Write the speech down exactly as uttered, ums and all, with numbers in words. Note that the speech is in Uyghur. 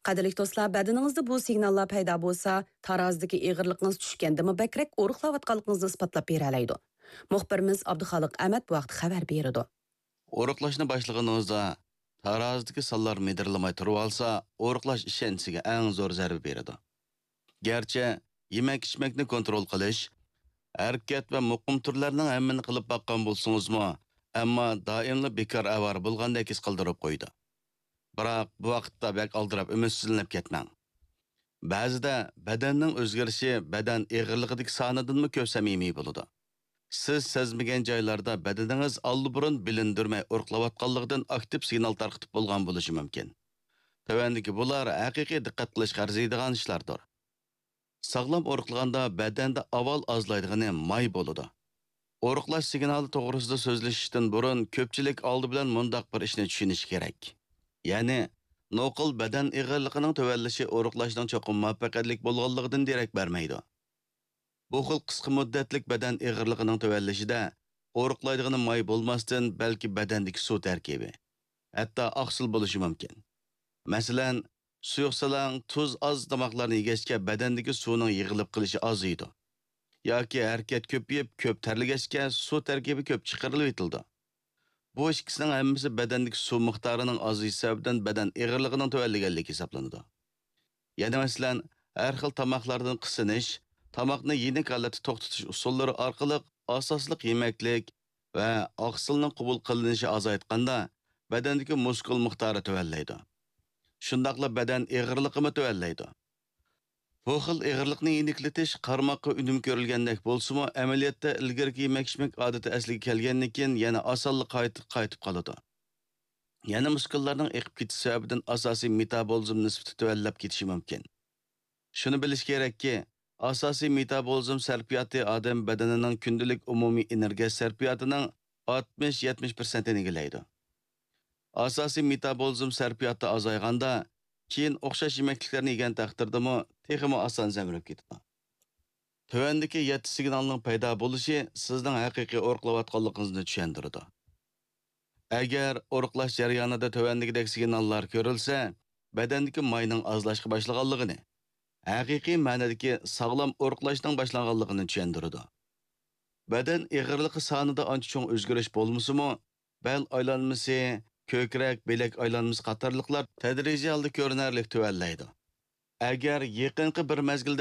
قەدىرلىك دوستلار، بەدىنىڭىزدە بۇ سىگناللار پەيدا بولسا، تارازىدىكى ئېغىرلىقىڭىز چۈشكەندىمۇ بەكرەك ئورۇقلاۋاتقانلىقىڭىزنى ئىسپاتلاپ بېرەلەيدۇ. مۇخبىرىمىز ئابدۇخالىق ئەمەت بۇ ھەقتە خەۋەر بېرىدۇ. ئورۇقلاشنى باشلىغىنىڭىزدا تارازىدىكى سانلار مىدىرلىماي تۇرۇۋالسا، ئورۇقلاش ئىشەنچىسىگە ئەڭ زور زەربە بېرىدۇ. گەرچە يېمەك-ئىچمەكنى كونترول قىلىش، ھەرىكەت ۋە مۇقىم تۈرلەرنىڭ ھەممىنى قىلىپ باققان بولسىڭىزمۇ، ئەمما دائىملا بىكار ئاۋارە بولغاندەك ھېس قىلدۇرۇپ قويىدۇ. بىراق بۇ ۋاقىتتا بەك ئالدىراپ ئۈمىدسىزلىنىپ كەتمەڭ. بەزىدە بەدەننىڭ ئۆزگىرىشى بەدەن ئېغىرلىقىدىكى سانىدىنمۇ كۆپ سەمىمىي بولىدۇ. سىز سەزمىگەن جايلاردا بەدىنىڭىز ئاللىبۇرۇن بىلىندۈرمەي ئورۇقلاۋاتقانلىقىدىن ئاكتىپ سىگنال تارقىتىپ بولغان بولۇشى مۇمكىن. تۆۋەندىكى بۇلار ھەقىقىي دىققەت قىلىشقا ئەرزىيدىغان ئىشلاردۇر. ساغلام ئورۇقلىغاندا بەدەندە ئاۋۋال ئازلايدىغىنى ماي بولىدۇ. ئورۇقلاش سىگنالى توغرىسىدا سۆزلىشىشتىن بۇرۇن كۆپچىلىك ئالدى بىلەن مۇنداق بىر ئىشنى چۈشىنىشى كېرەك. يەنى، نوقۇل بەدەن ئېغىرلىقىنىڭ تۆۋەنلىشى ئورۇقلاشنىڭ چوقۇم مۇۋەپپەقىيەتلىك بولغانلىقىدىن دېرەك بەرمەيدۇ. بۇ خىل قىسقا مۇددەتلىك بەدەن ئېغىرلىقىنىڭ تۆۋەنلىشىدە ئورۇقلايدىغىنى ماي بولماستىن، بەلكى بەدەندىكى سۇ تەركىبى، ھەتتا ئاقسىل بولۇشى مۇمكىن. مەسىلەن، سۇيۇقسەلەڭ، تۇز ئاز تاماقلارنى يېگەچكە بەدەندىكى سۇنىڭ يىغىلىپ قېلىشى ئازىيىدۇ. ياكى ھەرىكەت كۆپىيىپ، كۆپ تەرلىگەچكە سۇ تەركىبى كۆپ چىقىرىلىۋېتىلىدۇ. بۇ ئىككىسىنىڭ ھەممىسى بەدەندىكى سۇ مىقدارىنىڭ ئازىيىشى سەۋەبىدىن بەدەن ئېغىرلىقىنىڭ تۆۋەنلىگەنلىكى ھېسابلىنىدۇ. يەنە مەسىلەن، ھەر خىل تاماقلاردىن قىسىنىش، تاماقنى يېنىك ھالەتتە توختىتىش ئۇسۇللىرى ئارقىلىق ئاساسلىق يېمەكلىك ۋە ئاقسىلنىڭ قوبۇل قىلىنىشى ئازايتقاندا، بەدەندىكى مۇسكۇل مىقدارى تۆۋەنلەيدۇ. شۇنداقلا بەدەن ئېغىرلىقىمۇ تۆۋەنلەيدۇ. بۇ خىل ئېغىرلىقنى يېنىكلىتىش قارىماققا ئۈنۈم كۆرۈلگەندەك بولسىمۇ، ئەمەلىيەتتە ئىلگىرىكى يېمەك-ئىچمەك ئادىتى ئەسلىگە كەلگەندىن كېيىن يەنە ئاسانلا قايتا-، قايتىپ قالىدۇ. يەنە مۇسكۇللارنىڭ ئېقىپ كېتىش سەۋەبىدىن ئاساسىي مېتابولىزم نىسبىتى تۆۋەنلەپ كېتىشى مۇمكىن. شۇنى بىلىش كېرەككى، ئاساسىي مېتابولىزم سەرپىياتى ئادەم بەدىنىنىڭ كۈندىلىك ئومۇمىي ئېنېرگىيە سەرپىياتىنىڭ ئاتمىش يەتمىش پىرسەنتىنى ئىگىلەيدۇ. ئاساسىي مېتابولىزم سەرپىياتى ئازايغاندا، كېيىن ئوخشاش يېمەكلىكلەرنى يېگەن تەقدىردىمۇ تېخىمۇ ئاسان زەمرەپ كېتىدۇ. تۆۋەندىكى يەتتە سىگنالنىڭ پەيدا بولۇشى سىزنىڭ ھەقىقىي ئورۇقلاۋاتقانلىقىڭىزنى چۈشەندۈرىدۇ. ئەگەر ئورۇقلاش جەريانىدا تۆۋەندىكىدەك سىگناللار كۆرۈلسە، بەدەندىكى ماينىڭ ئازلاشقا باشلىغانلىقىنى، ھەقىقىي مەنىدىكى ساغلام ئورۇقلاشنىڭ باشلانغانلىقىنى چۈشەندۈرىدۇ. بەدەن ئېغىرلىقى سانىدا ئانچە چوڭ ئۆزگىرىش بولمىسىمۇ، بەل ئايلانمىسى، كۆكرەك، بىلەك ئايلانمىسى قاتارلىقلار تەدرىجىي ھالدا كۆرۈنەرلىك تۆۋەنلەيدۇ. ئەگەر يېقىنقى بىر مەزگىلدە